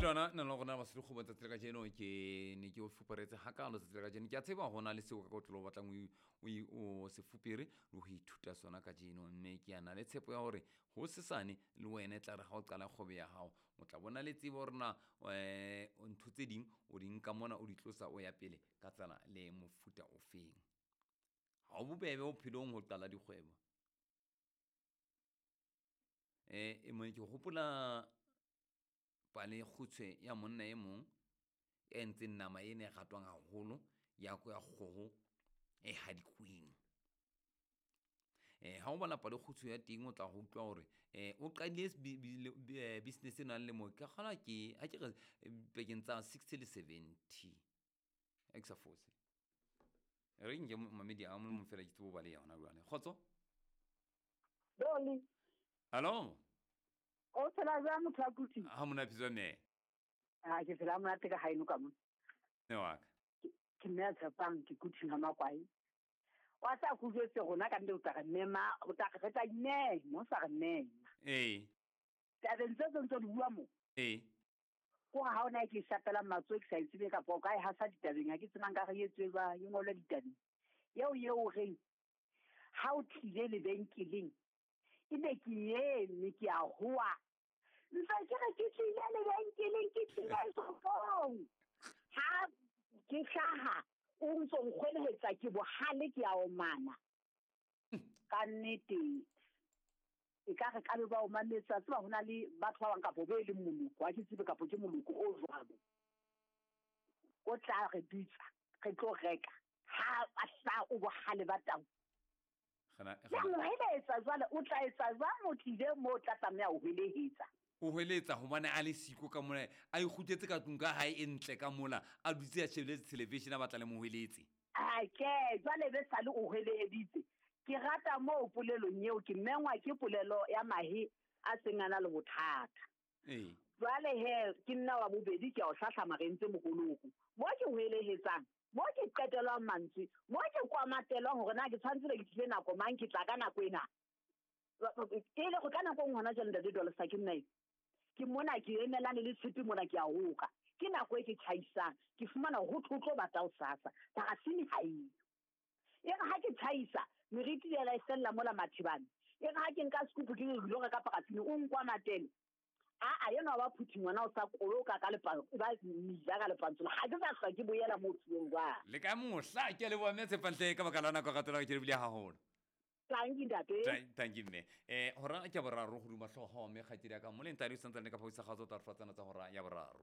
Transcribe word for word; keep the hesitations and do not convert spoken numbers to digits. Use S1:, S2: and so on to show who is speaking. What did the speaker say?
S1: Thulana nna le rona basadi kgobo tsatsi la kajeno ke ne ke o fuparetse hakalo tsatsi la kajeno. Ke a tseba ho na le seo ka kotloloho o batlang o i- o o se fupere le ho ithuta sona kajeno, mme ke a na le tshepo ya hore ho sesane le wena e tla re ha o qala kgwebo ya hao o tla bona le tsebo hore na um ntho tse ding o di nka mona o di tlosa o ya pele ka tsela le mofuta o feng. Ha o bobebe bophelong ho qala dikgwebo. Eh e ke hopola pale kgutshwe ya monna e mong ya entseng nama ena e ratwang haholo ya ya kgoho e hadikweng. Eh ha o bala pale kgutshwe ya teng o tla ho utlwa hore eh o qadile business ena lemo ke kgolwa ke ha ke re pakeng tsa sixty le seventy. Ha ke sa fose. Re nke mamedi a mong fela ke tsebe ho ba le yona jwale. Kgotso?
S2: Doli.
S1: Hello?
S2: O phela jwang motho wa Kutu?
S1: Ha mona phetswa mme.
S2: Ah, ke phela monate ka haeno ka mona.
S1: Ne wa ka.
S2: Ke mme a tshepang ke Kutu ha Makwai. Wa tsa ku jwetse rona ka ntle o tla re mema, o tla re tla imema, o sa re mema.
S1: Eh.
S2: Tabeng tse tse ntse di bua mo.
S1: Eh.
S2: Ko ha ona ke shapela matsoho ke sa itsebe kapa o ka e hasa ditabeng, ha ke tsebang ka re etswe jwang, e ngolwe ditabeng. Eo eo reng ha o tlile lebenkeleng ebe ke eme ke a hoa. Ntse ke re ke tlile lebenkeleng, ke tlile shopong. Ha ke hlaha o ntso nkgwelehetsa ke bohale ke a omana. Ka nnete e ka re ka be ba o mametse, tseba hona le batho ba bang kapo be leng moloko, ha ke tsebe kapo ke moloko o jwalo. O tla re bitsa, re tlo reka. Ha a hla o bohale ba tau.
S1: Gana
S2: Ya mo hweletsa jwale, o tla etsa jwang o tlile moo o tla tlameha ho hwelehetsa?
S1: O hweletsa hobane a le siko ka mona, a ikgutletse ka tlung ka hae e ntle ka mola, a dutse a shebeletse television a batla le mo hweletse.
S2: A ke, jwale be sale o hweleheditse. Ke rata moo polelong eo, ke mengwa ke polelo ya mahe a seng a na le bothata.
S1: Eh.
S2: Jwale he, ke nna wa bobedi ke a o hlahlama re entse mokoloko. Mo ke hwelehetsang, mo ke qetelwang mantswe, mo ke kwamatelwang hore na ke tshwanetse be ke tlile nako mang, ke tla ka nako ena. E le go ka nako e nngwe hona jwale ntate Dolsa ke nna e. Ke mona ke emelane le tshepe mona ke a hoka. Ke nako e ke tjhaisang, ke fumana ho thwe ho tlo bata hosasa, parafini ha eyo. E re ha ke tjhaisa, meriti ya la e fella mola Mathibane. E re ha ke nka sekupu ke re lo reka parafini, o nkwa matele. A a yena wa phuthi ngwana o sa koloka ka lepa, ba mija ka lepantsola. Ha ke sa hlwa ke boela moo tsuong jwang.
S1: Le ka mohla ke a leboha mme Tshepantle ka baka la nako ya ratola ke lebile haholo.
S2: Thank you, ntate.
S1: Thank, thank you, mme. Eh, hora ke ya boraro hodima hlooho mme kgaitsedi ya ka moleng tadi o santsane ka phaposi ya kgaotso tsa re fa tsena tsa hora ya boraro.